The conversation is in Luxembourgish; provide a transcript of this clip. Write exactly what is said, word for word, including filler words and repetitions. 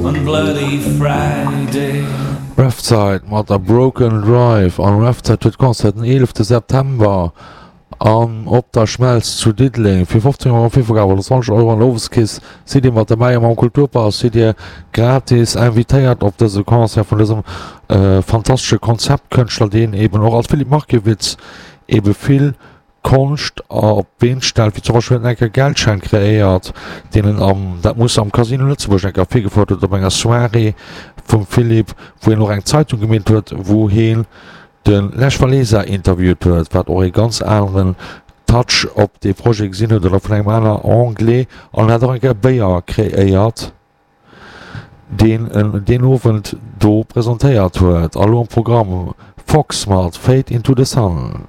on Bloody Friday. Refside mat der Broken Drive an Refside huet Concert den eelefte September an Op der Schmelz zu Diddeleng. Fir fofzéng Euro am Virverkaf oder zwanzeg Euro an der Oweskeess sidd Dir mat derbäi a mam Kulturpass sidd Dir gratis invitéiert op dëse Concert vun dësem fantastesche Konzeptkënschtler, deen eben och als Philippe Markiewicz ebe vill Konscht op d'Been stellt, wéi zum Beispill huet en eng Kéier Geldschäin kreéiert, deen en am, dat muss am Casino Lëtzebuerg eng Kéier virgefouert huet op enger Soirée vum Philippe, wou hien och eng Zeitung gemeet huet, wou hien de Lech Walesa interviewt huet, wat och ee ganz aneren Touch op dee Projet gesinn huet, oder vun engem aner Anglais, an en hat och eng Kéier Béier kreéiert, deen en deen Owend do presentéiert huet. A lo am Programm, Fox mat Fade into the Sun.